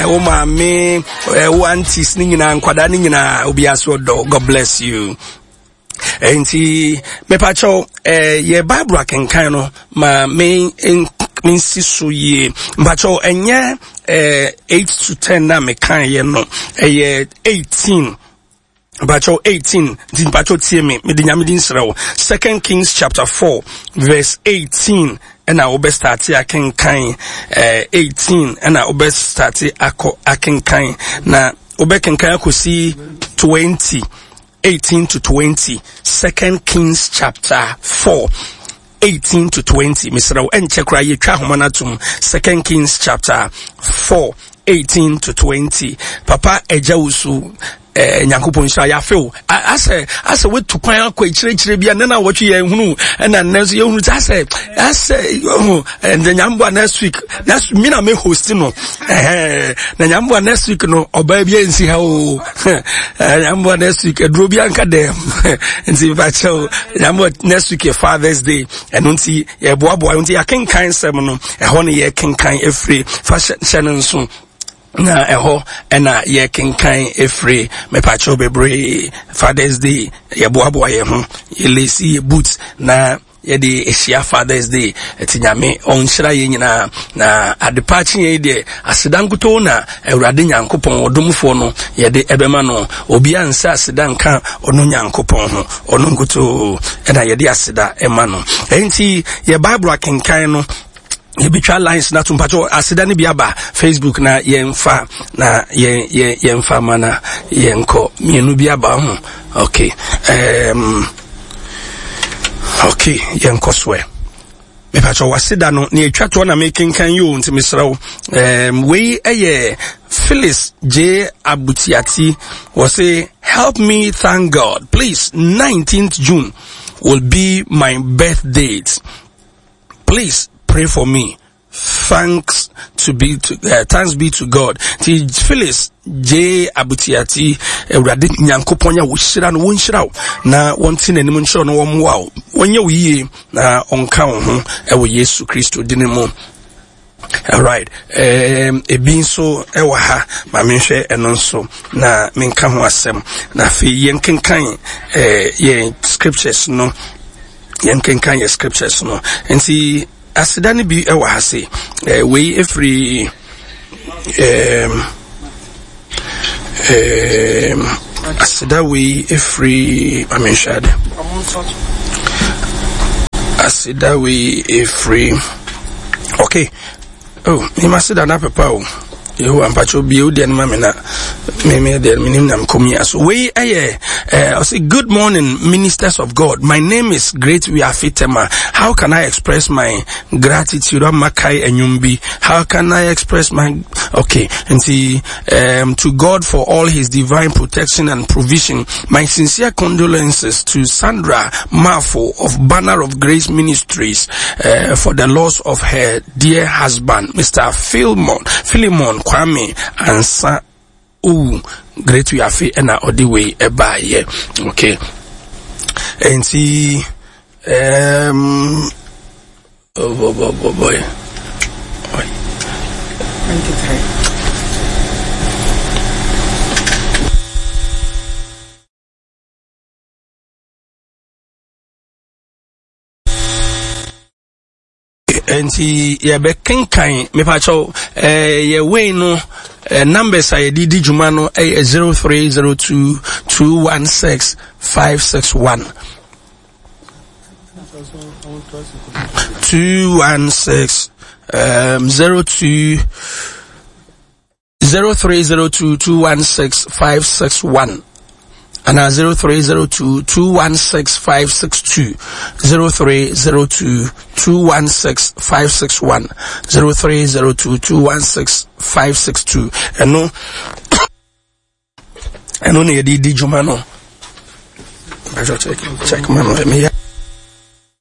wo maame, wo aunties ne nyinaa, nkwadaa ne nyinaa, obiara so ɔdɔ. God bless you. Nti mepakyɛw yɛ Bible akenkan no ma me mensi so yie. Mpakyɛw ɛnyɛ 8 to 10 na mekaeɛ no, ɛyɛ 18. Mpakyɛw 18 nti mpakyɛw tie me, mede Nyame din srɛ wo. Second Kings chapter 4 verse 18 ɛna wobɛstarte akenkan, 18 ɛna wobɛstarte akɔ akenkan, na wobɛkenkan akɔsi 20. 18 to 20. Second Kings chapter 4 18 to 20. Mesrɛ wo ɛnkyɛ koraa yɛtwa ahoma no atom. Second Kings chapter 4 18 to 20. Papa agya wo so nyankopɔn nhyira yɛafe wo. Asɛ asɛ woatu kwan akɔ akyirɛkyirɛ bi a nna na wɔtwe yɛn hunu, ɛna nnɛ nso yɛhunu sɛ asɛ asɛ ɔho ɛnɛ nyamboa next week, next me na me host no, ɛhɛn na nyamboa next week no ɔbaa bi ansi ha o. Nyamboa next week aduro bi anka dɛm, nti mepakyɛw nyamboa next week yɛ Father's Day, ɛno nti yɛboaboa, nti yɛakenkan nsɛm no ɛhɔ no yɛkenkan efiri fa hyɛ no nso na ɛhɔ ɛna yɛkenkan efiri. Mepakyɛw bebree, Father's Day yɛboaboa yɛn ho, yɛlesi yɛ boot na yɛde ahyia Father's Day. Ɛti Nyame ɔnhyira yɛn nyinaa na adepa akye yɛn deɛ aseda nkutoo na Awurade Nyankopɔn ɔdomfoɔ no yɛde ɛbɛma no. Obiara nsa aseda nka ɔno Nyankopɔn ho, ɔno nkutoo ɛna yɛde aseda ɛma no. Ɛnti yɛ Bible akenkan no yɛbɛtwa lines na to. Mpakyɛ aseda no bi aba Facebook na yɛmfa na yɛn yɛn yɛmfa ma na yɛnkɔ. Mmienu bi aba ho. Okay, okay, yɛnkɔ soɛ. Mepakyɛ waseda no ne atwa toɔ na mekenkan yi o, nti mesrɛ wo. Wei ɛyɛ Phyllis J. Abutiati. Wɔ help me thank God please. 19th June will be my birth date. Please pray for me. Thanks to be to, thanks be to God. Ti Phyllis J. Abutiati, Awurade Nyankopɔn a wɔhyira no, wɔnhyira wo na wɔnte n'anim nkyerɛ no, wɔmmoa wo, wɔnyɛ wo yie na ɔnka wo ho ɛwɔ Yesu Kristo din mu. Alright, ebi nso ɛwɔ ha, ma menhwɛ ɛno nso na menka ho asɛm. Na afei yɛnkenkan yɛn scriptures no, yɛnkenkan yɛn scriptures no. Nti aseda no bi ɛwɔ ha se, wei efiri aseda wei efiri, ma menhwɛ ade. Aseda wei efiri, okay. Oh, me ma seda na pepa o. Yehowa mpakyɛw bie wo deɛ no ma me na me me deɛ menim na mekɔ mia so. Wei ɛyɛ ɔsɛ good morning ministers of God. My name is Great Wiafe Tema. How can I express my gratitude? Ama kai enyum bi. How can I express my, okay. Nti to God for all his divine protection and provision. My sincere condolences to Sandra Marfo of Banner of Grace Ministries for the loss of her dear husband, Mr. Philemon Kwame Ansa. Ooh, Great Wiafe ɛna ɔde wei ɛbaayɛ. Okay. Nti oh, boy, boy, boy, boy. 23. Nti yɛbɛkenkan mepakyɛw yɛ wei no, numbers a yɛde di dwuma no ɛyɛ 0302 216 561, 216 02 0302 216 561 ana 0302 216 562, 0302 216 561, 0302 216 562. Ɛno na yɛde di dwuma no. Check, check ma no meyɛ.